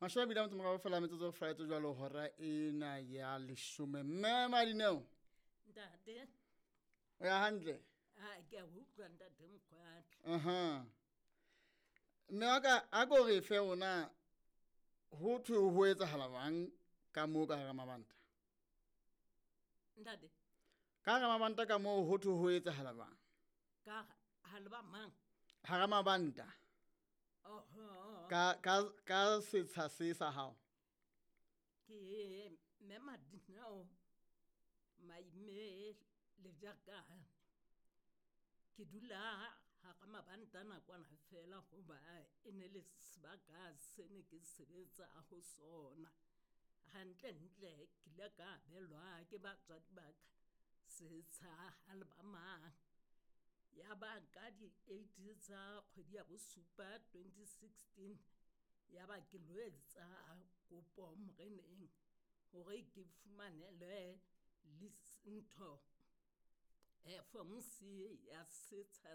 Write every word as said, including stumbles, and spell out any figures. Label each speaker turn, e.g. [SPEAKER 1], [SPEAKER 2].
[SPEAKER 1] Mashome a mabedi a metso e meraro fela metsotso e fela jwalo hora ena ya leshome. Mme Madineo.
[SPEAKER 2] Ntate.
[SPEAKER 1] O ya hantle?
[SPEAKER 2] Ah, ke a utlwa ntate Mokgwatle.
[SPEAKER 1] Aha. Mme wa ka a ko re fe ona ho thwe ho etsahala jwang ka moo ka hara mabanta?
[SPEAKER 2] Ntate.
[SPEAKER 1] Ka hara mabanta ka moo ho thwe ho etsahala jwang?
[SPEAKER 2] Ka ha le ba mang?
[SPEAKER 1] Hara mabanta.
[SPEAKER 2] Oho.
[SPEAKER 1] Ka ka ka setsha se sa hao.
[SPEAKER 2] Ke mme Madineo Maime le jaka. Ke dula hara mabanta nakwana fela hoba e ne le sebaka se ne ke sebetsa ho sona. Hantlentle ke ile ka abelwa ke batswadi ba ka setsha ha le ba mang. Ya ba ka di-eight tsa kgwedi ya bosupa twenty sixteen, ya ba ke lo etsa kopo moreneng hore ke fumanelwe lease ntho eh form C ya setsha.